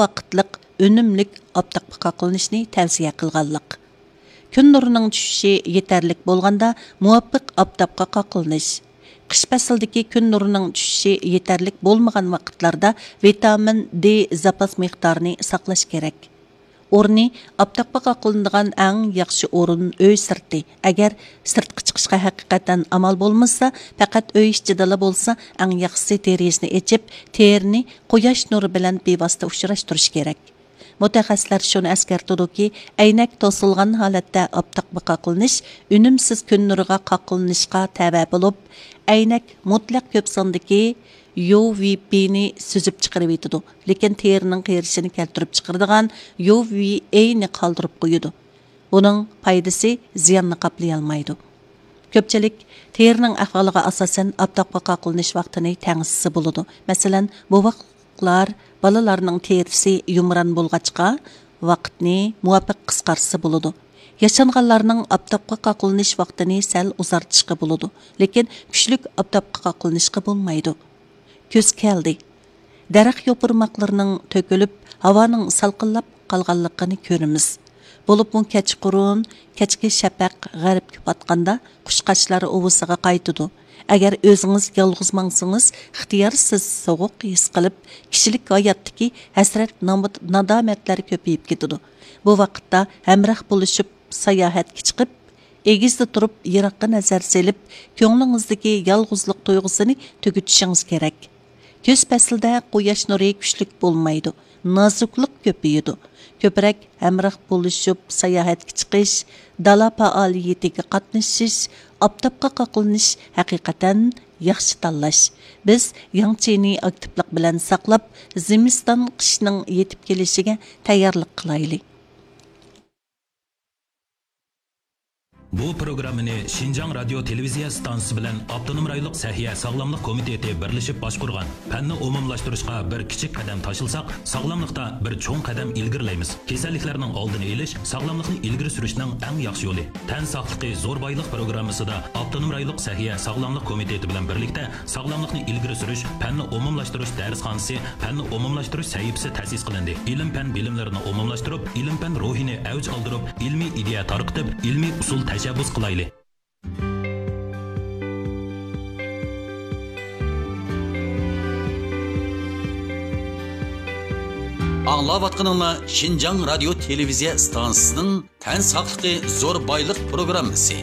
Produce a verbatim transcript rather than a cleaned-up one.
ۋاقىتلىق ئۈنۈملۈك ئاپتاپقا قاقلىنىشنى تەۋسىيە قىلغانلىق. كۈن نۇرىنىڭ چۈشۈشى يېتەرلىك بولغاندا مۇۋاپىق ئاپتاپقا قاقلىنىش. قىش پەسلىدىكى كۈن نۇرىنىڭ چۈشۈشى يېتەرلىك بولمىغان ۋاقىتلاردا ۋىتامىن دې زاپاس مىقدارىنى ساقلاش كېرەك. ئورنى: ئاپتاپقا قاقلىنىدىغان ئەڭ ياخشى ئورۇن ئۆي سىرتى. ئەگەر سىرتقا چىقىشقا ھەقىقەتەن ئامال بولمىسا، پەقەت ئۆي ئىچىدىلا بولسا، ئەڭ ياخشىسى دېرىزىنى ئېچىپ، تېرىنى قۇياش نۇرى بىلەن بىۋاسىتە ئۇچراشتۇرۇش كېرەك. مۇتەخەسسىسلەر شۇنى ئەسكەرتىدۇكى، ئەينەك توسۇلغان ھالەتتە ئاپتاپقا قاقلىنىش ئۈنۈمسىز كۈن نۇرىغا قاقلىنىشقا تەۋە بولۇپ، ئەينەك مۇتلەق كۆپ ساندىكى يۇ ۋى پى نى سۈزۈپ چىقىرىۋېتىدۇ، لېكىن تېرىنىڭ قېرىشىنى كەلتۈرۈپ چىقىرىدىغان يۇ ۋى ئېي نى قالدۇرۇپ قويىدۇ. بۇنىڭ پايدىسى زىياننى قاپلىيالمايدۇ. كۆپچىلىك تېرىنىڭ ئەھۋالىغا ئاساسەن ئاپتاپقا قاقلىنىش ۋاقتىنى تەڭشىسە بولىدۇ. مەسىلەن، بوۋاقلار، بالىلارنىڭ تېرىسى يۇمران بولغاچقا، ۋاقىتنى مۇۋاپىق قىسقارتسا بولىدۇ. ياشانغانلارنىڭ ئاپتاپقا قاقلىنىش ۋاقتىنى سەل ئۇزارتىشقا بولىدۇ، لېكىن كۈچلۈك ئاپتاپقا قاقلىنىشقا بولمايدۇ. كۈز كەلدى. دەرەخ يوپۇرماقلىرىنىڭ تۆكۈلۈپ، ھاۋانىڭ سالقىنلاپ قالغانلىقىنى كۆرىمىز. بولۇپمۇ كەچقۇرۇن، كەچكى شەپەق غەربكە پاتقاندا قۇشقاچلار ئۇۋىسىغا قايتىدۇ. ئەگەر ئۆزىڭىز يالغۇز ماڭسىڭىز، ئىختىيارسىز سوغۇق ھېس قىلىپ، كىشىلىك ھاياتتىكى ھەسرەت، نامۇت-، نادامەتلەر كۆپىيىپ كېتىدۇ. بۇ ۋاقىتتا ھەمراھ بولۇشۇپ ساياھەتكە چىقىپ، ئېگىزدە تۇرۇپ يىراققا نەزەر سېلىپ، كۆڭلىڭىزدىكى يالغۇزلۇق تۇيغۇسىنى تۈگىتىشىڭىز كېرەك. كۈز پەسلىدە قۇياش نۇرى كۈچلۈك بولمايدۇ، نازۇكلۇق كۆپىيىدۇ. كۆپرەك ھەمراھ بولۇشۇپ ساياھەتكە چىقىش، دالا پائالىيىتىگە قاتنىشىش، ئاپتاپقا قاقلىنىش ھەقىقەتەن ياخشى تاللاش. بىز ياڭ چىنى ئاكتىپلىق بىلەن ساقلاپ، زىمىستان قىشنىڭ يېتىپ كېلىشىگە تەييارلىق قىلايلى. بۇ پروگراممىنى شىنجاڭ رادىيو تېلېۋىزىيە ئىستانسىسى بىلەن ئاپتونوم رايونلۇق سەھىيە ساغلاملىق كومىتېتى بىرلىشىپ باشقۇرغان. پەننى ئومۇملاشتۇرۇشقا بىر كىچىك قەدەم تاشلىساق، ساغلاملىقتا بىر چوڭ قەدەم ئىلگىرىلەيمىز. كېسەللىكلەرنىڭ ئالدىنى ئېلىش، ساغلاملىقنى ئىلگىرى سۈرۈشنىڭ ئەڭ ياخشى يولى. تەن ساقلىقى زور بايلىق پروگراممىسىدا ئاپتونوم رايونلۇق سەھىيە ساغلاملىق كومىتېتى بىلەن بىرلىكتە ساغلاملىقنى ئىلگىرى سۈرۈش، پەننى ئومۇملاشتۇرۇش دەرسخانىسى، پەننى ئومۇملاشتۇرۇش سەھىپىسى تەسىس قىلىندى. ئىلىم-پەن بىلىملىرىنى ئومۇملاشتۇرۇپ، ئىلىم-پەن روھىنى ئەۋج ئالدۇرۇپ، ئىلمىي ئىدىيە تارقىتىپ، ئىلمىي ئۇسۇل تەشەببۇس قىلايلى. ئاڭلاۋاتقىنىڭلار شىنجاڭ رادىيو تېلېۋىزىيە ئىستانسىسىنىڭ تەن ساقلىقى زور بايلىق پروگراممىسى.